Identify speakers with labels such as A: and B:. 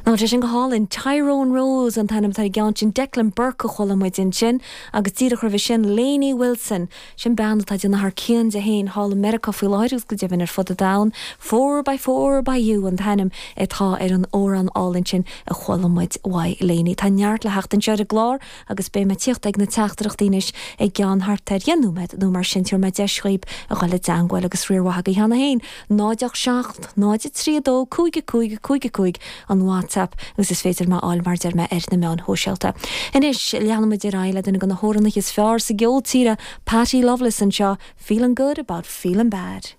A: Tá sé sin go hálainn. Tyrone Rose an t-ainm atá ar an gceann sin. Declan Burke a chuala muid ansin agus díreach roimhe sin Lainey Wilson. Sin bean atá ag déanamh thar cionn di féin thall i Meiriceá faoi láthair agus go deimhin ar fud an domhain. Four by Four by You an t-ainm atá ar an amhrán álainn sin a chuala muid uaidh Lainey. Tá neart le theacht anseo ar an gclár agus beidh mé ag tíocht ag na teachtaireachtaí anois i gceann thart ar dheich nóiméad nó mar sin. Tabharfaidh mé deis dhaoib a dhul i dteangmháil agus riar mhaith agaibh cheana féin. 0 8 7 0 3 2 5 5 5 5 an WhatsApp agus is féidir mé a fháil mar deir mé ar na meáin shóisialta. Anois leanfaimid ar aghaidh le duine de na hamhránaithe is fearr sa gceol tíre, Patty Loveless anseo, Feeling Good About Feeling Bad.